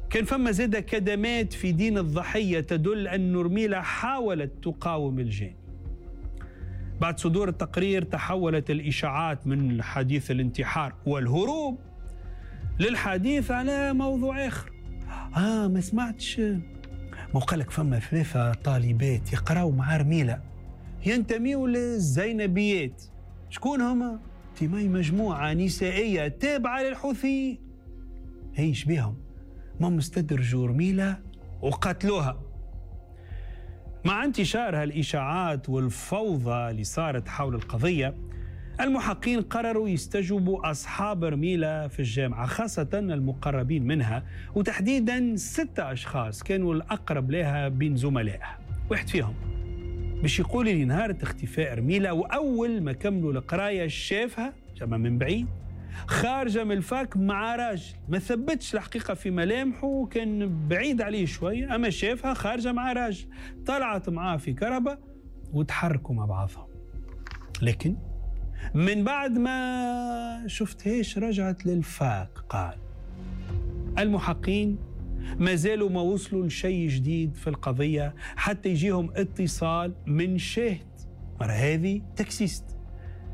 كان فما زادة كدمات في دين الضحية تدل أن رميلة حاولت تقاوم الجاني. بعد صدور التقرير تحولت الإشاعات من حديث الانتحار والهروب للحديث على موضوع آخر. ما سمعتش، ما قالك فما 3 طالبات يقراوا مع رميلة ينتميوا للزينبيات. شكون هما؟ تيماي مجموعة نسائية تابعة للحوثي. هيش بيهم؟ ما مستدرجوا رميلة وقتلوها. مع انتشار هالإشاعات والفوضى اللي صارت حول القضية، المحقين قرروا يستجوبوا أصحاب رميلة في الجامعة، خاصة المقربين منها، وتحديدا 6 أشخاص كانوا الأقرب لها بين زملائها. واحد فيهم باش يقول لي نهار اختفاء رميلة وأول ما كملوا القراية شافها جمع من بعيد خارجة من الفاك مع راجل، ما ثبتش الحقيقة في ملامحه، كان بعيد عليه شوية، أما شافها خارجة مع راجل، طلعت معاه في كربة وتحركوا مع بعضهم. لكن من بعد ما شفتهاش رجعت للفاك. قال المحقين ما زالوا ما وصلوا لشيء جديد في القضية حتى يجيهم اتصال من شاهد، مرة هذه taxiste،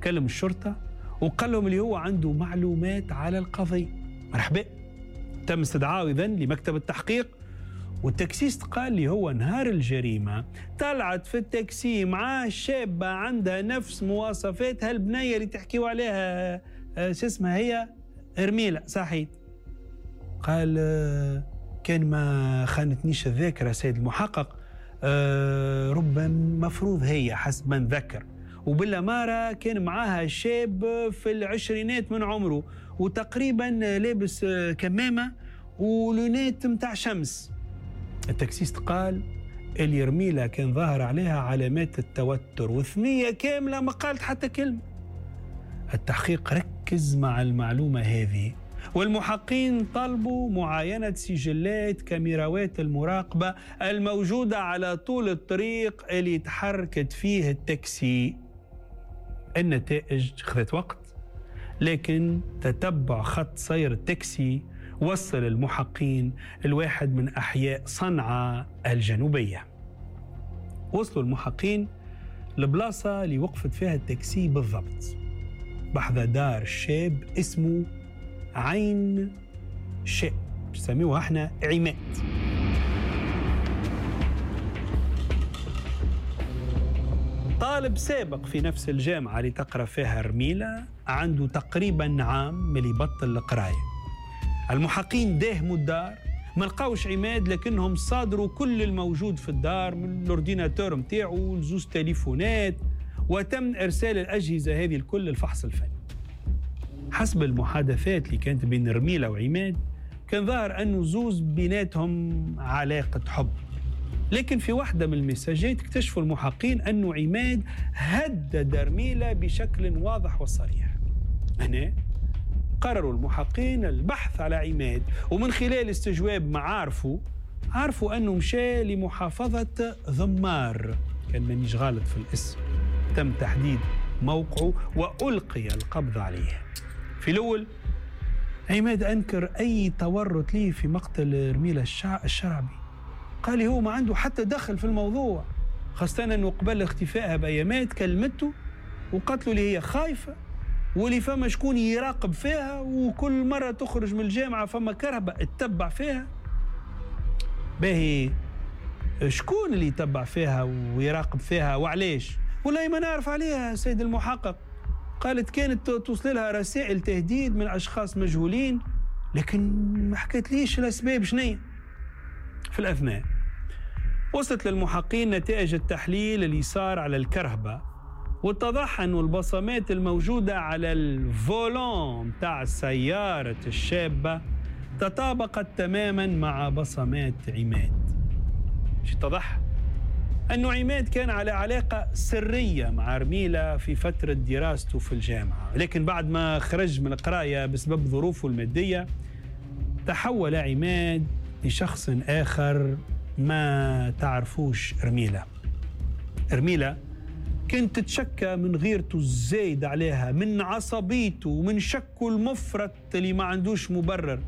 كلم الشرطة وقال لهم اللي هو عنده معلومات على القضية. مرحبا، تم استدعائه إذن لمكتب التحقيق، وال taxiste قال لي هو نهار الجريمة طلعت في التاكسي مع شابة عندها نفس مواصفات هالبنية اللي تحكيوا عليها، شو اسمها هي؟ رميلة، صحيح. قال كان ما خانتنيش الذاكرة سيد المحقق، ربما مفروض هي حسب ما نذكر، وبالأمارة كان معاها شاب في العشرينات من عمره وتقريبا لابس كمامة ولونات متاع شمس. ال taxiste قال اللي رميلة كان ظاهر عليها علامات التوتر وثنية كاملة ما قالت حتى كلمة. التحقيق ركز مع المعلومة هذه، والمحقين طلبوا معاينة سجلات كاميراوات المراقبة الموجودة على طول الطريق اللي تحركت فيه التاكسي. النتائج خذت وقت، لكن تتبع خط سير التاكسي وصل المحقين الواحد من أحياء صنعاء الجنوبية. وصلوا المحقين لبلاصة اللي وقفت فيها التاكسي بالضبط، بحذا دار شاب اسمه عين شاء، نسميوها احنا عماد. طالب سابق في نفس الجامعة اللي تقرأ فيها رميلة، عنده تقريبا عام من اللي بطل القراية. المحقين داهموا الدار، ما لقاوش عماد، لكنهم صادروا كل الموجود في الدار من ال ordinateur متاعه لزوز تليفونات، وتم إرسال الأجهزة هذه الكل للفحص الفني. حسب المحادثات اللي كانت بين رميلة وعماد، كان ظاهر أنه زوز بيناتهم علاقة حب، لكن في واحدة من المساجات اكتشفوا المحقين أنه عماد هدد رميلة بشكل واضح وصريح. هنا قرروا المحقين البحث على عماد، ومن خلال استجواب معارفه عرفوا أنه مشى لمحافظة ذمار، كان مانيش غلط في الاسم. تم تحديد موقعه وألقي القبض عليه. في الأول عماد أنكر أي تورط ليه في مقتل رميلة الشرعبي، قال هو ما عنده حتى دخل في الموضوع، خاصة أنه قبل اختفائها بأيامات كلمته وقالت له اللي هي خايفة واللي فما شكون يراقب فيها، وكل مرة تخرج من الجامعة فما كرهبة تتبع فيها. باهي شكون اللي يتبع فيها ويراقب فيها وعليش؟ والله ما نعرف عليها سيد المحقق. قالت كانت توصل لها رسائل تهديد من أشخاص مجهولين، لكن ما حكيت ليش الأسباب شنية. في الأثناء وصلت للمحقين نتائج التحليل اللي صار على الكرهبة، واتضح أن البصمات الموجودة على الفولون تاع سيارة الشابة تطابقت تماما مع بصمات عماد. اتضح أنه عماد كان على علاقة سرية مع رميلة في فترة دراسته في الجامعة، لكن بعد ما خرج من القراية بسبب ظروفه المادية تحول عماد لشخص آخر ما تعرفوش رميلة. رميلة كانت تتشكى من غيرته الزايد عليها، من عصبيته ومن شكه المفرط اللي ما عندوش مبرر.